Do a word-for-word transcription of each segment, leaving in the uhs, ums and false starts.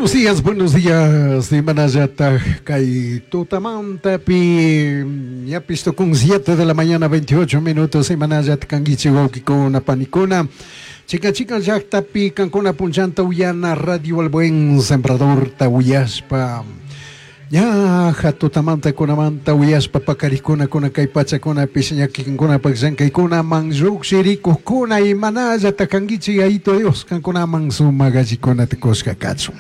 Buenos días, buenos días. Imanallataj kay tutamantapi ñapish tukun siete de la mañana veintiocho minutos. Imanallata kankichik wawkikuna panikuna. Chica chica llaqtapi kankuna punchanta uyana Radio El Buen Sembrador ta uyashpa. Ña tutamanta kunamanta uyashpa pakarikuna kuna kay pachakunapish ñakikunapaq llankaykunaman lluqshirikuqkuna imanallata kankichik Yayito Dios kankunaman sumaq allikunata kushka kachun.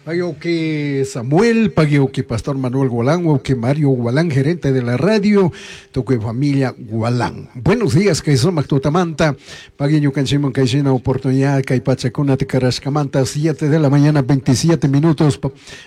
Pagioque Samuel, Pagioque Pastor Manuel Gualán, que Mario Gualán, gerente de la radio, toque familia Gualán. Buenos días, que sumaq tutamanta, Pagueño Canchimon Kaishina oportunidad, Kay Pachacuna Tecarashkamanta, siete de la mañana, veintisiete minutos,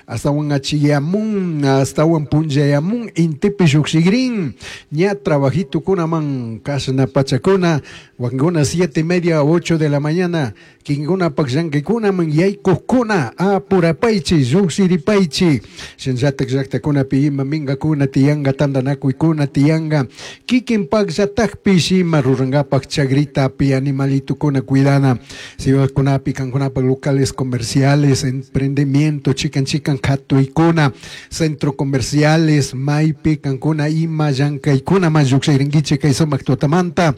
hasta un achiyamun, hasta un punjayamun, intipi yuxigrin, ña trabajito kunaman, kasna pachacuna, wanguna siete y media, ocho de la mañana, kinguna pakyanquikunaman, yaykukuna, apurapaychi, lluqshiripaychi, shinllatak llaqtakunapi ima minkakuna tiyanga, tantanakuykuna tiyanga, kikin pakllatakpish ima rurankapak chagritapi animalitukuna cuidana, ciudadkunapi kankunapak locales comerciales, emprendimiento, chikan chikan katuykuna, centro comerciales, maypi kankuna ima llankaykuna man lluqshirinkichik kay sumaq tutamanta.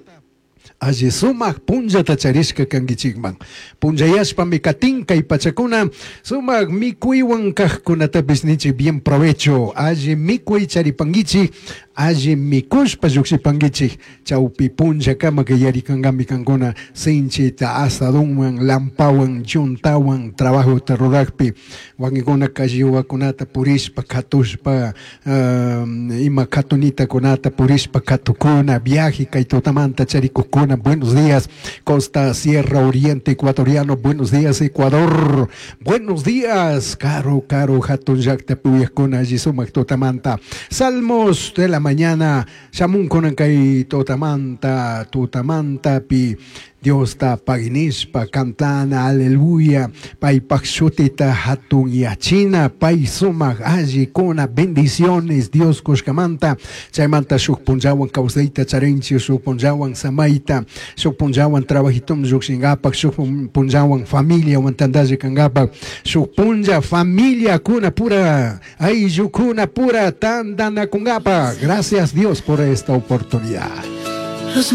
Alli sumaq punllata charishka kankichikman. Punllayashpami katin kay pachakuna sumaq mikuywan kaqkunatapis nichik bien provecho. Alli mikuy charipankichik, alli mikushpa lluqshipankichik. Chawpi punllakama kay yarikankami kankuna sinchita asadunwan, lampawan, yuntawan trabajota rurakpi. Wakinkuna kalliwakunata purishpa katushpa, um, ima katunitakunata purishpa katukuna, viaje kay tutamanta charikuqkuna. Buenos días, Costa Sierra Oriente Ecuatoriano. Buenos días, Ecuador. Buenos días, Caro, Caro, Hatun llaqta puyaqkuna, alli sumaq tutamanta. Salmos de la mañana, shamun kunan kay tutamanta, tutamantapi. Diosta paginishpa, cantana, aleluya, paypak shutita hatun yachina, pay sumaq alli kuna bendiciones Dios kushkamanta, chaymanta shuk punllawan kawsayta charinchik, shuk punllawan samayta, shuk punllawan trabajitum lluqshinkapak, shuk punllawan familiawan tantalla kankapak, shuk punlla familia kuna pura, ayllukuna pura tantanakunkapak. Gracias Dios por esta oportunidad.